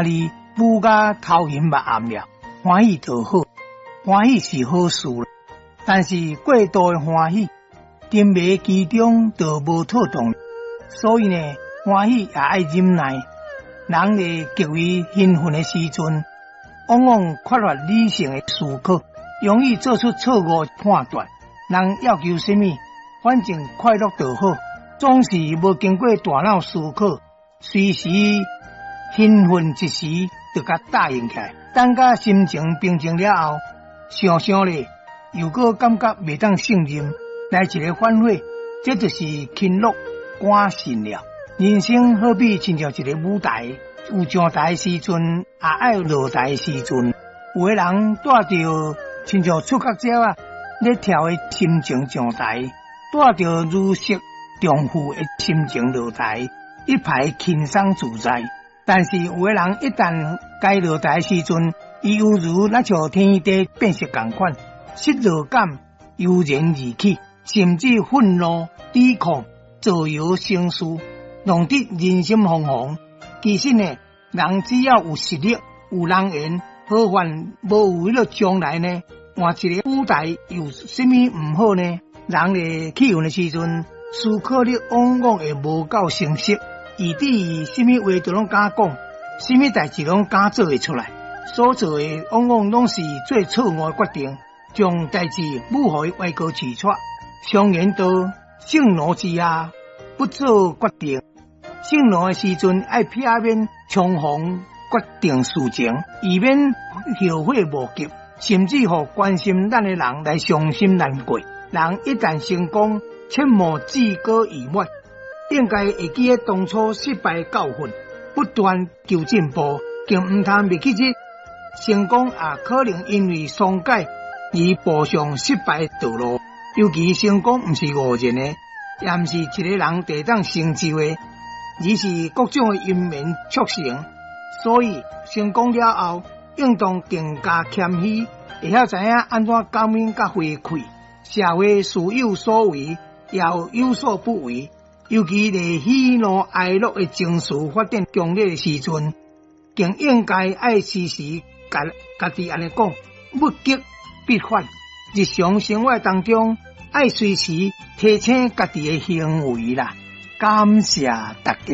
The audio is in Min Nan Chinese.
弟舞甲頭晕目暗了，歡喜就好，歡喜是好事，但是過度的歡喜，沉迷其中就無妥當。所以呢，歡喜也愛忍耐。人咧極為興奮的時陣，往往缺乏理性的思考，容易做出錯誤判斷。人要求啥物，反正快樂就好，總是無經過大腦思考，隨時興奮一時就共答應起來。等甲心情平靜了後，想想咧，又閣感覺袂當勝任，來一个反悔，這就是輕樂趕勝了。人生好比親像一个舞台，有上台的時陣，也愛落台的時陣。有的人帶著親像出國鳥仔咧跳的心情上台，帶著如釋重負的心情落台，一派輕鬆自在。但是有的人一旦該落台的時陣，伊猶如若像天地變色仝款，失落感油然而起，甚至憤怒、抵抗、造謠生事，弄得人心惶惶。其實呢，人只要有實力、有人緣，何患無有彼个將來呢？換一个舞台有啥物毋好呢？人咧氣憤的時陣，思考力往往會無夠清晰，以至於啥物話都攏敢講，啥物代誌攏敢做會出來，所做的往往攏是做錯誤的決定，將代誌舞予伊歪高起錯。常言道，盛怒之下不做決定。盛怒的時陣，愛避免衝鋒決定事情，以免後悔莫及，甚至予關心咱的人來傷心難過。人一旦成功，切莫志高意遠，應該會記得當初失敗的教訓，不斷求進步，更毋通袂記得成功也可能因為鬆懈而步上失敗的道路。尤其成功毋是偶然的，也毋是一个人就會當成就的，而是各種的因緣促成。所以成功了後，應當更加謙虛，會曉知影按怎感恩佮回饋。社會事有所為，也有有所不為。尤其佇喜怒哀樂的情緒發展強烈的時陣，更應該愛時時共家己按呢講：物極必反。日常生活當中，愛隨時提醒家己的行為啦。感謝大家。